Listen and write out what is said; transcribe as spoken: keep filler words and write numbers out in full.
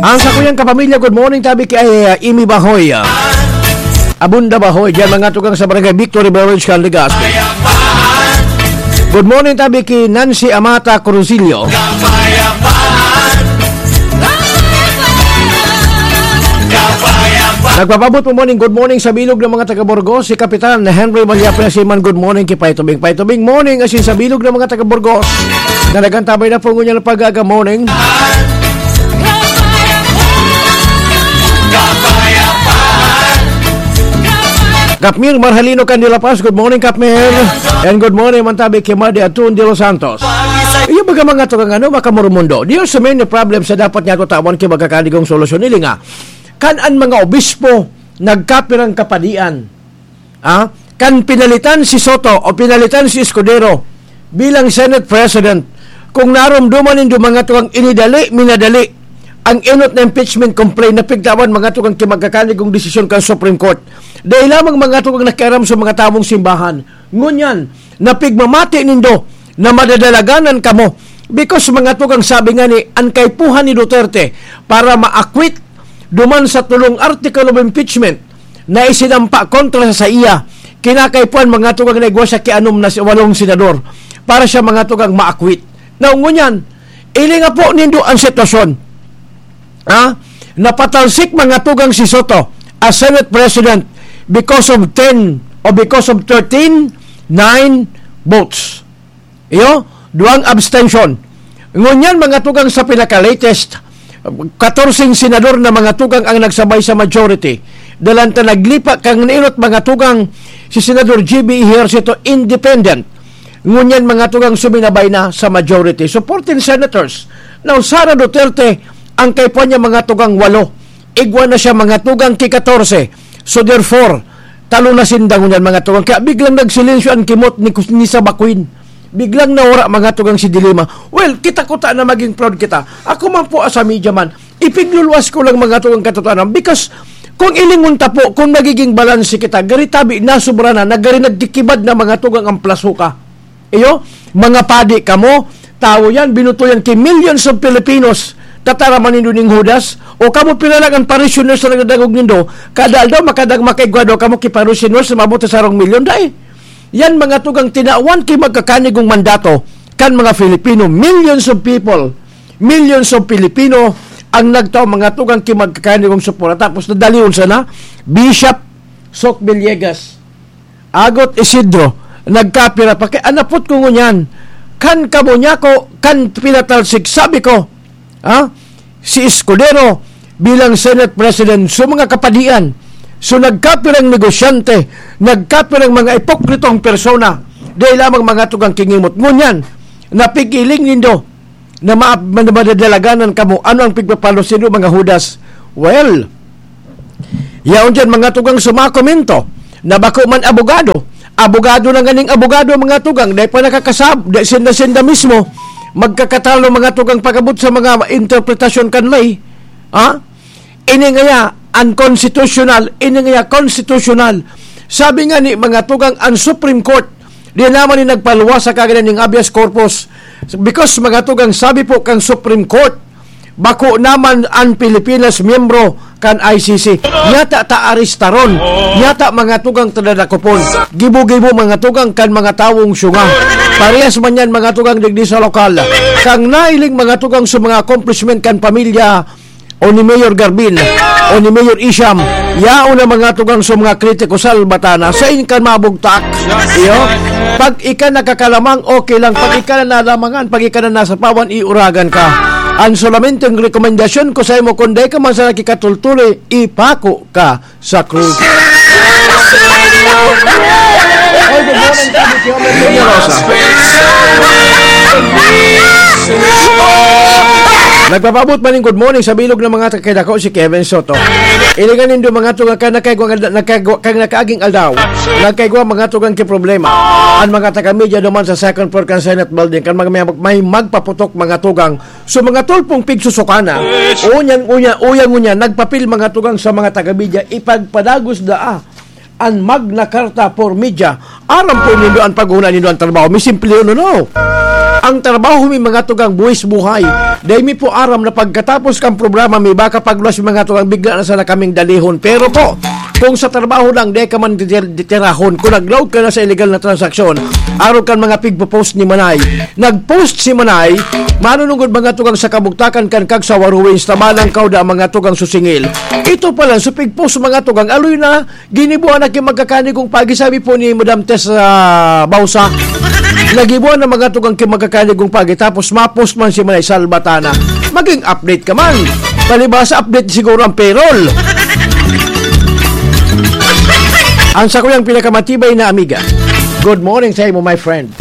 Ang sakuyang kapamilya, good morning tabi kay, ah, Imi Bahoy, ah, Abunda Bahoy, diyan mga tugang sa Barangay Victory Village, Legazpi. Good morning tabi kay Nancy Amata Cruzillo. Nagpapabot po morning, good morning sa bilog ng mga taga Burgos, si Kapitan Henry Malyapre Siman. Good morning kay Paitubing. Paitubing morning, asin sa bilog ng mga taga Burgos. Nanagantabay na po ngunyan ang pag-aga morning. Kapmir Marhalino Candilapaz, good morning, Kapmir. And good morning, Mantabi Kimadi Atun de los Santos. Iyo baga mga tugang ano, makamurumundo. There are so many problems sa dapat niya tutawan kay magkakanigong solusyon. Ili nga, kan an mga obispo nagkapirang kapadian, ah, kan pinalitan si Soto o pinalitan si Escudero bilang Senate President, kung naromdoman nindo mga tugang inidali, minadali ang enot na impeachment complaint na pigtawan mga tugang kay magkakanigong desisyon kan Supreme Court. Dahil lamang mga tugang nakiaram sa mga tawong simbahan. Ngunyan, napigmamati nindo na madadalaganan kamo because mga tugang sabi nga ni an kaipuhan ni Duterte para ma-acquit duman sa tulong article of impeachment na isinampa kontra sa iya, kinakaipuhan mga tugang na igwa siya ki anom na si-, walong senador para siya mga tugang ma-acquit. Now, ngunyan, ilinga po nindo ang sitwasyon. Ha? Napatalsik mga tugang si Soto as Senate President because of ten o because of thirteen nine votes. Iyo, duwang abstention. Ngunyan, mga tugang sa pinaka-latest, katorseng senador na mga tugang ang nagsabay sa majority. Dalan ta naglipa kang nainot, mga tugang, si Senador G B Ejercito, independent. Ngunyan, mga tugang, suminabay na sa majority. So, fourteen senators. Now, Sara Duterte, ang kaipuhan niya, mga tugang, walo. Igwa na siya, mga tugang, ki katorse. So, therefore, talo na sinda ngunyan, mga tugang. Kaya biglang nagsilensyo ang kimot ni Kus-, ni Saba Queen. Biglang nawara, mga tugang, si De Lima. Well, kita ko ta na maging proud kita. Ako man po, as a media man, ipigluluwas ko lang, mga tugang, katotohanan. Because, kung ilingon ta po, kung magiging balanse kita, gari tabi, nasobra na, nagari nagkikibad na, mga tugang, ang plasuka. Iyo, mga padi kamo, tawo yan, binuto yan ki millions of Filipinos. Tataraman nindo ning Judas? O kamo pira lang an parishioners na nagdadangog nindo? Kada aldaw, makadag-, makaigwa daw kamo ki parishioners na maabot sa sarong milyon, dai. Yan mga tugang tinawan ki magkakanigong mandato kan mga Filipino, millions of people, millions of Filipino ang nagtao mga tugang ki magkakanigong suporta. Tapos nadalion sana, Bishop Sok Villegas, Agot Isidro, nagkapira pa. Kaya anapot ko ngunyan, kan kamo niya ko, kan pinatalsik, sabi ko, ha? Si Escudero bilang Senate President, so mga kapadian, so nagkapirang negosyante, nagkapirang mga ipokritong persona, dahil lamang mga tugang kingimot. Ngunyan, napigiling nindo, na ma-, ma-, madadalaganan kamo. Ano ang pigpapalos nindo, mga Judas? Well, yaon diyan mga tugang sumakomento na bako man abogado. Abogado na nganing abogado, mga tugang, dai pa nakakasab-, dai sinda-sinda mismo magkakatalo, mga tugang, pag-abot sa mga interpretasyon kan lay. Ha? Ini ngaya unconstitutional, ini ngaya constitutional. Sabi nga ni mga tugang, ang Supreme Court, di naman ni nagpaluwas sa kaganan ning habeas corpus. Because mga tugang, sabi po kang Supreme Court, bako naman ang Pilipinas miyembro kan I C C. Yata ta aristaron. Yata mga tugang tadadakopon. Gibo-gibo mga tugang kan mga tawong syunga. Parehas man yan mga tugang digdi sa lokal. Kang nailing mga tugang sa mga accomplishment kan pamilya o ni Mayor Garbin, o ni Mayor Isham, yaon na mga tugang sa mga kritiko, salbata na, sain kan mabugtak. Iyo, pag ika nakakalamang, okay lang. Pag ika na nalamangan, pag ika na nasapawan, iuragan ka. Ang solamenteng rekomendasyon ko sa imo, kung dai ka man sana kikatultuloy, ipako ka sa krus. Oy, good morning, Tito Tio Merlin Rosa. Nagpapabot man ning good morning sa bilog ng mga taga-Dako, si Kevin Soto. Ilingan nindo mga tugang kan nakaigwa, nakaigwa, kan nakaaging aldaw. Nakaigwa mga tugang ki problema. Ang mga taga-media duman sa second floor kan Senate building, kan mga may, may magpaputok mga tugang. So, mga tulpong pigsusukana, uyan, uyan, uyan, uyan, nagpapil mga tugang sa mga taga-media, ipagpadagos daa an Magna Carta for Media. Aram po nindo an paghuna nindo an trabaho. May simple yun, ano? Ang trabaho mi, mga tugang, buwis buhay. Dai mi po aram na pagkatapos kan programa, may baka pagluwas mi, mga tugang, bigla na sana kaming dalihon. Pero po, kung sa trabaho lang, dai ka man titir- titirahon. Kung naglaog ka na sa illegal na transaksyon, arog kan mga pigpo-post ni Manay. Nag-post si Manay, manunungod, mga tugang, sa kabugtakan kan Kagsawa Ruins, tabanang kauda, mga tugang, susingil. Ito pala, so pig-post, mga tugang, aloy na, ginibuan na ki magkakanigong pagi, sabi po ni Madam Tess, ah, Bausa. Nagibuan na, mga tugang, ki magkakanigong pagi, tapos ma-post man si Manay, salbatana. Maging update ka man. Palibasa, update siguro ang payroll. Ang sakuyang pinakamatibay na amiga. Good morning sa imo, my friend.